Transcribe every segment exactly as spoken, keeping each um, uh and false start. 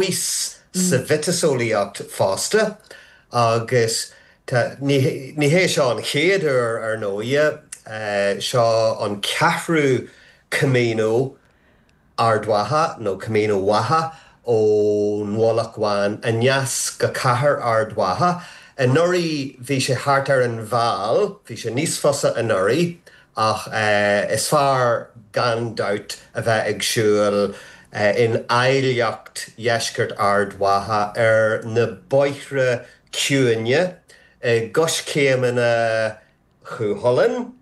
maos sa mhiotaseolaíocht fosta agus tá, ní ní hé seo an chéad uair ar ndóigh, seo an ceathrú Camino Ard Mhacha nó Camino Mhacha ón Mhullach Bhán aneas go cathair Ard Mhacha. Anuraidh bhí sé thart ar an Mheall, bhí sé níos fusa anuraidh ach is fearr gan dabht a bheith ag siúl in áilleacht dheisceart Ard Mhacha ar na bóithre ciúine i gcoiscéimeanna Chú Chulainn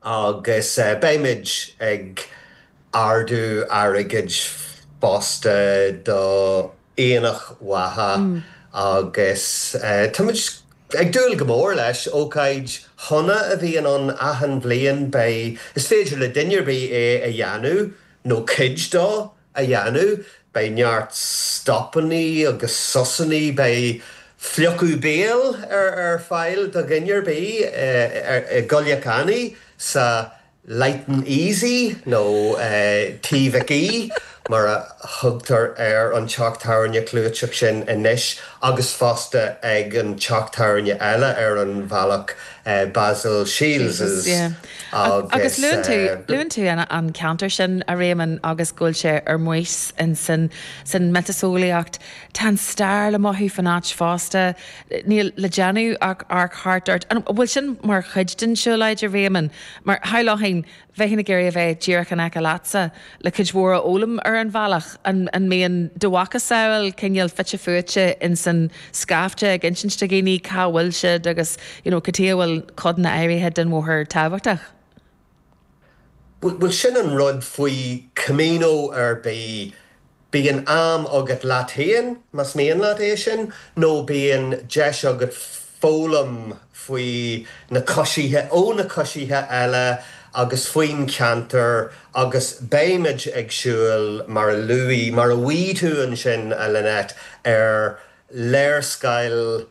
agus beimid ag ardú airgid fosta do Aonach Mhacha agus táimid ag dúil go mór leis. Ócáid shona a bhíonn ann achan bhliain. Beidh, is féidir le duine ar bith é a dhéanamh nó cuid dó a dhéanamh. Beidh neart stopannaí agus sosannaí, beidh fliuchadh béil ar ar fáil do dhuine ar bith i gCoilleach Annaidh sa Light and Easy nó Tí Mhic Aoidh mar a thugtar ar an teach tábhairne clúiteach sin anois agus fosta ag an teach tábhairne eile ar an bhealach, Basil Shiels'. Agus luann tú, luann tú an ceantar sin, a Réamoinn, agus go bhfuil sé ar maos in san san miotaseolaíocht. Tá an stair le mothú fan áit fosta. Níl le déanamh ach amharc thart ort. An bhfuil sin mar chuid den siúlóid, a Réamoinn? Mar shamhlóinn, bheinn ag iarraidh a bheith díreach in aice leatsa le cuid mhór a fhoghlaim ar an bhealach. An mbíonn do mhacasamhail cineál fite fuaite ins an scaifte ag insint do dhaoine cá bhfuil siad agus you know cad chuige a bhfuil codanna áirithe den bhóthar tábhachtach? Bhuel, sin an rud faoi Camino ar bith, bíonn am agat leat féin, más mian leat é sin, nó bíonn deis agat foghlaim faoi na coisithe, ó na coisithe eile agus faoin cheantar agus beimid ag siúl, mar a luaigh, mar a mhaígh tú ansin, a Lynette, ar léarscáil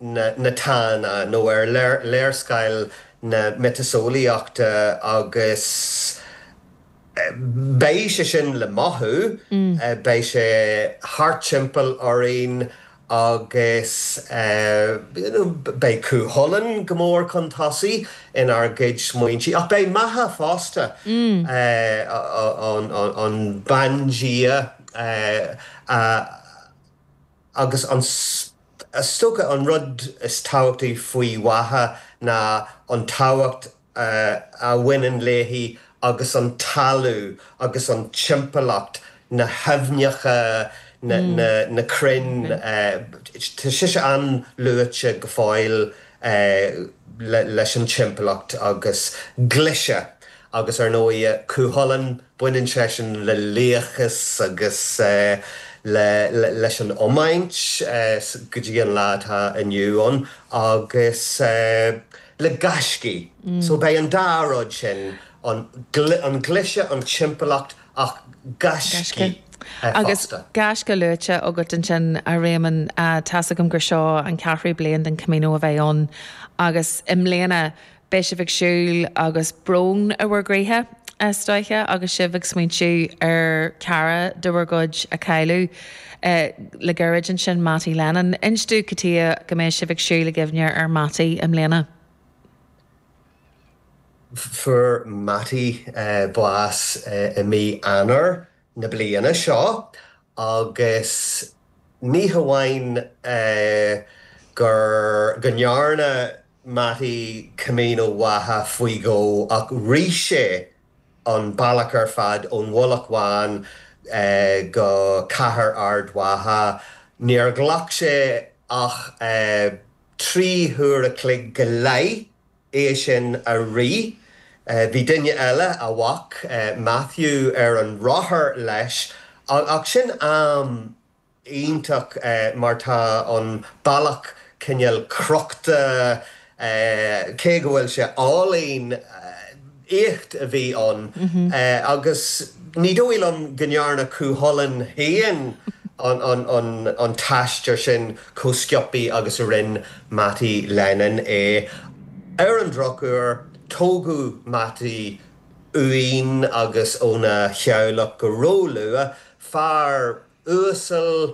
na Tána nó ar léarscáil na miotaseolaíochta agus beidh sé sin le mothú, beidh sé thart timpeall orainn agus beidh Cú Chulainn go mór chun tosaigh inár gcuid smaointe ach beidh Macha fosta, an bandia a. Agus an, is dócha, an rud is tábhachtaí faoi Mhacha ná an tábhacht a bhaineann léi agus an talamh agus an timpeallacht, na haibhneacha, na, na, na crainn. Tá sise an-luaite go fóill leis an timpeallacht agus glaise agus ar ndóigh Cú Chulainn, Baineann seisean le laochas agus leis an iomáint go dtí an lá atá inniu ann agus le gaiscí. So beidh an dá rud sin, an glaise, an timpeallacht ach gaiscí Agus fosta. gaisce luaite agat ansin, a Réamoinn, tá's agam gur seo an ceathrú bliain den Camino a bheidh ann agus i mbliana Beidh sibh ag siúl agus brón i bhur gcroíthe, is dóiche, agus sibh ag smaointiú ar chara de bhur gcuid a cailleadh le gairid ansin, Mattie Lennon. Inis domh cad chuige go mbeidh sibh ag siúl i gcuimhne ar Mattie i mbliana. Fuair Mattie bás i mí Eanáir na bliana seo agus ní hamháin gur go ndearna Mattie Camino Mhacha faoi dhó ach rith sé an bealach ar fad ón Mhullach Bhán go cathair Ard Mhacha. Níor ghlac sé ach trí huaire a chloig go leith é sin a rith. Bhí duine eile, a mhac, Matthew, ar an rothar leis ach sin am iontach mar tá an bealach cineál crochta, cé go bhfuil sé álainn, éacht a bhí ann agus ní dóigh liom go ndearna Cú Chulainn féin an t-aistear sin chomh sciobtha agus a rinne Mattie Lennon é. Ar an drochuair, tógadh Mattie uainn agus óna theaghlach go róluath, fear uasal